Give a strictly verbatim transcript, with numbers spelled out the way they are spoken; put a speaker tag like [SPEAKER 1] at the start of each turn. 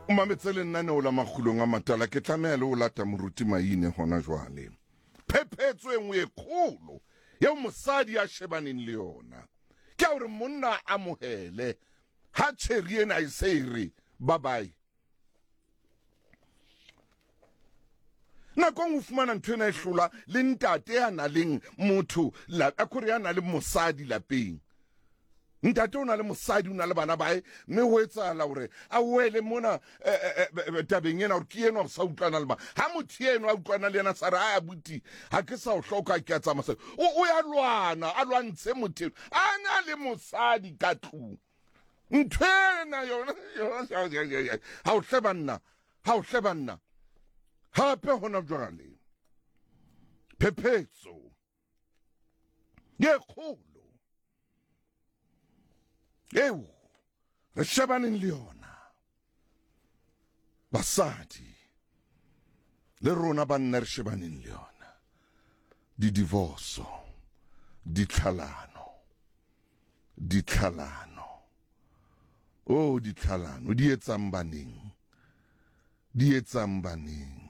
[SPEAKER 1] O mametse lenaneo la Makgulong a Matala. Ke tlameha le ho lata moruti Maine hona jwale. Phephetso e nngwe e kgolo eo mosadi a shebaneng le yona ke ya hore monna a amohele ha tjheri ena e se e re bye bye. Nakong o fumana ntho ena e hlola le ntate ya na leng motho la akore ya na le mosadi lapeng. Ntate o na le mosadi, o na le bana bae, mme ho etsahala hore a wele mona eh, eh, eh, tabeng ena hore ke enwa o sa utlwana le mang. Ha motho eno a utlwana le yena sa re a abuti ha ke sa o hloka ke a tsamaya. O o ya lwana, a lwantshe motho eno. A na le mosadi ka tlung. Ntho ena yona ha o hle banna, ha o hle banna. Hape hona jwale phephetso ye kgolo eo re shebaneng le yona basadi le rona banna re shebaneng le yona, di-divorce, ditlhalano, ditlhalano, oh ditlhalano di etsang baneng, di etsang baneng.